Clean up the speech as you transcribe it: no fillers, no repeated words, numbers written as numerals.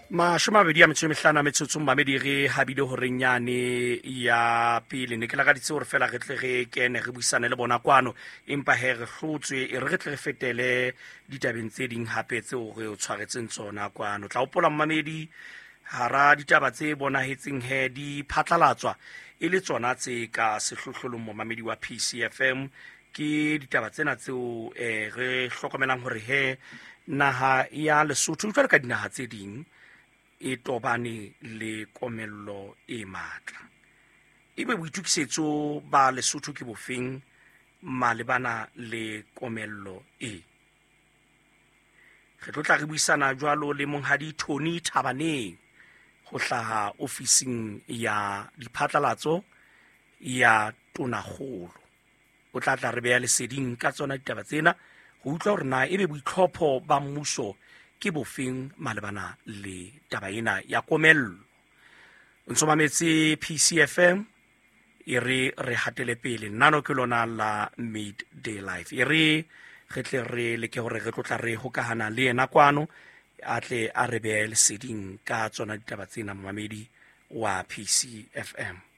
25 a metsotso, mamedi, re habile horeng yane ya pele. Ne ke lakaditse hore fela re tle re kene re buisane le bona kwano, empa he re hlotswe. E re re tle re fetele ditabeng tse ding hape tseo re o tshwaretseng tsona kwano. Tla hopola, mmamedi, hara ditaba tse bonahetseng he di phatlalatswa e le tsona tse ka sehlohlolong, momamedi wa PCFM, ke ditaba tsena tseo re hlokomelang hore he naha ya Lesotho, jwalo ka dinaha tse ding, e tobane le komello e matla. Ebe boitukisetso ba Lesotho ke bofeng malebana le komello e? Re tlo tla re buisana jwalo le monghadi Tony Thabaneng ho hlaha ofising ya diphatlalatso ya tonakgolo. O tla tla re beya leseding ka tsona ditaba tsena, ho utlwa hore na ebe boitlhopho ba mmuso ke bofeng malebana le taba ena ya komello. O ntso mametse PCFM. E re re hatele pele. Nano ke lona la Midday Life. E re re tle re leke hore re tlotla re hokahana le yena kwano, a tle a re behe leseding ka tsona ditaba tsena, momamedi wa PCFM.